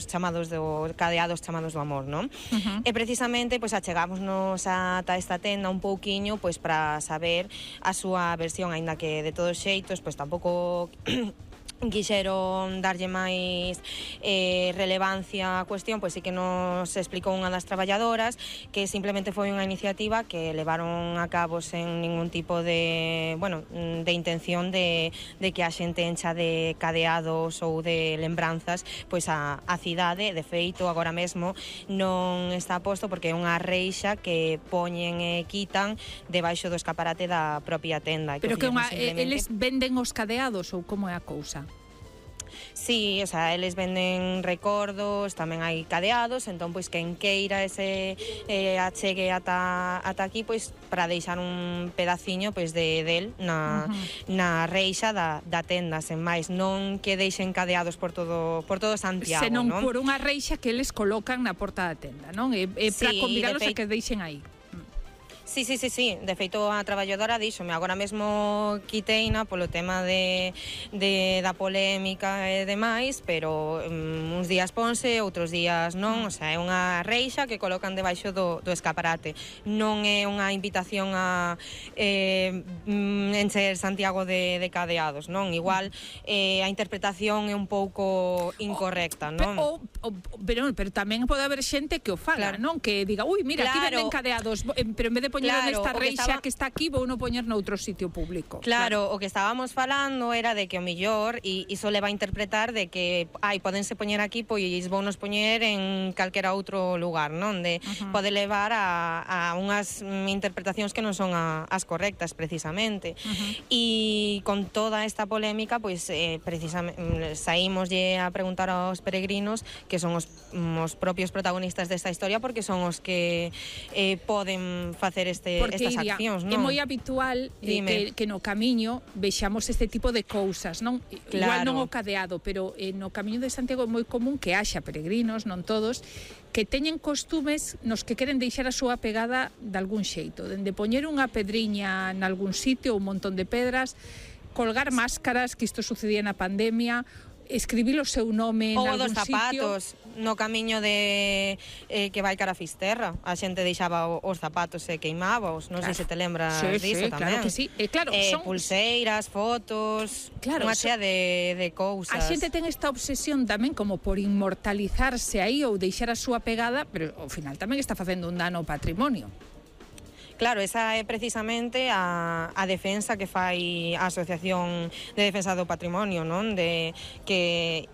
chamados do amor, non? E precisamente pois achegámonos ata esta tenda un pouquiño pois para saber a súa versión, aínda que de todos xeitos pois tampouco quixeron darlle máis relevancia á cuestión, pois sí que nos explicou unha das traballadoras que simplemente foi unha iniciativa que levaron a cabo sen ningún tipo de, bueno, de intención de que a xente encha de cadeados ou de lembranzas pois a cidade. De feito, agora mesmo non está posto porque é unha reixa que poñen e quitan debaixo do escaparate da propia tenda. Pero que eles venden os cadeados ou como é a cousa? Sí, o sea, eles venden recordos, tamén hai cadeados, entón pois quen queira ese achegue ata aquí pois para deixar un pedaciño pois del na reixa da tenda, sen máis, non que deixen cadeados por todo Santiago, senón non? Por unha reixa que eles colocan na porta da tenda, non? É para convidalos a que deixen aí. Sí. De feito, a traballadora díxome, agora mesmo quiteina polo tema da polémica e demais, pero uns días ponse, outros días non, o sea, é unha reixa que colocan debaixo do escaparate. Non é unha invitación a encher Santiago de cadeados, non? Igual a interpretación é un pouco incorrecta, non? Pero tamén pode haber xente que o faga, non? Que diga, ui, mira, aquí venden cadeados, pero en vez de poñer nesta reixa que está aquí, vou non poñer noutro sitio público. Claro, o que estábamos falando era de que o millor, e iso leva a interpretar de que, podense poñer aquí, pois vou nos poñer en calquera outro lugar, non? De pode levar a unhas interpretacións que non son as correctas, precisamente. E con toda esta polémica, pois precisamente saímoslle a preguntar aos peregrinos, que son os propios protagonistas desta historia, porque son os que poden facer estas accións, non? É moi habitual que no camiño vexamos este tipo de cousas, non? Igual non o cadeado, pero no camiño de Santiago é moi común que haxa peregrinos, non todos, que teñen costumes nos que queren deixar a súa pegada de algún xeito, dende poñer unha pedriña nalgún sitio, un montón de pedras, colgar máscaras, que isto sucedía na pandemia, escribir o seu nome en algún sitio. Ou dos zapatos, no camiño de que vai cara a Fisterra. A xente deixaba os zapatos e queimábaos. Non sei se te lembras diso tamén. Claro que sí. Pulseiras, fotos, unha chea de cousas. A xente ten esta obsesión tamén como por inmortalizarse aí ou deixar a súa pegada, pero ao final tamén está facendo un dano ao patrimonio. Claro, esa é precisamente a defensa que fai a Asociación de Defensa do Patrimonio, non? De que,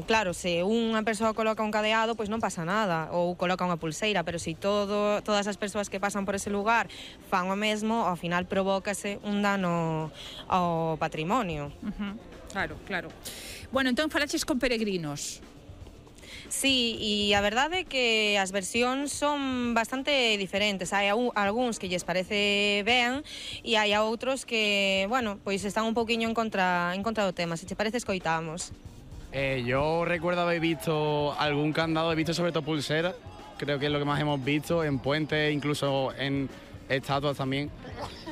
claro, se unha persoa coloca un cadeado, pois non pasa nada, ou coloca unha pulseira, pero se todas as persoas que pasan por ese lugar fan o mesmo, ao final provócase un dano ao patrimonio. Claro. Bueno, entón falaches con peregrinos. Sí, e a verdade é que as versións son bastante diferentes. Hai algúns que lles parece ben e hai outros que, bueno, pois están un pouquiño en contra do tema. Se te parece, escoitamos. Yo recuerdo haber visto algún candado, he visto sobre todo pulseras, creo que es lo que más hemos visto, en puentes, incluso en estatuas también.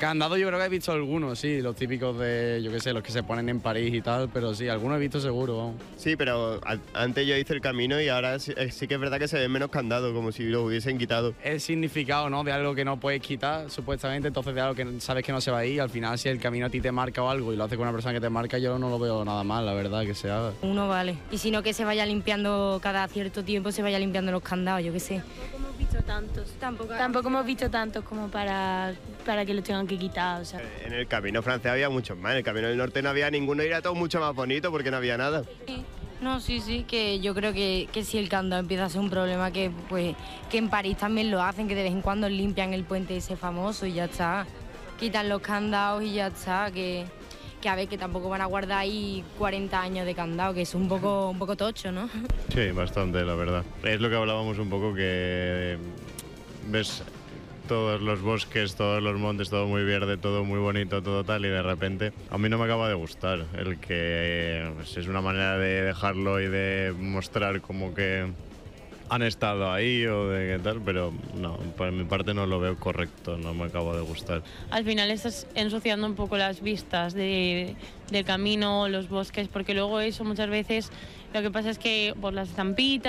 Candado yo creo que he visto algunos, sí, los típicos de, yo qué sé, los que se ponen en París y tal, pero sí, algunos he visto seguro, vamos. Sí, pero antes yo hice el camino y ahora sí que es verdad que se ven menos candados, como si los hubiesen quitado. El significado, ¿no?, de algo que no puedes quitar, supuestamente, entonces de algo que sabes que no se va a ir, al final si el camino a ti te marca o algo y lo hace con una persona que te marca, yo no lo veo nada mal, la verdad, que se haga. Uno vale, y si no que se vaya limpiando cada cierto tiempo, se vaya limpiando los candados, yo qué sé. Tampoco hemos visto tantos. Tampoco hemos visto tantos como para que los tengan que quitar, o sea. En el camino francés había muchos más, en el camino del norte no había ninguno y era todo mucho más bonito porque no había nada. No, sí, que yo creo que si el candado empieza a ser un problema, que en París también lo hacen, que de vez en cuando limpian el puente ese famoso y ya está. Quitan los candados y ya está, que a ver, que tampoco van a guardar ahí 40 años de candado, que es un poco tocho, ¿no? Sí, bastante, la verdad. Es lo que hablábamos un poco, que ves todos los bosques, todos los montes, todo muy verde, todo muy bonito, todo tal, y de repente a mí no me acaba de gustar el que pues, es una manera de dejarlo y de mostrar como que han estado ahí o de qué tal, pero no, por mi parte no lo veo correcto, no me acaba de gustar. Al final estás ensuciando un poco las vistas del camino, los bosques, porque luego eso muchas veces lo que pasa es que por las estampitas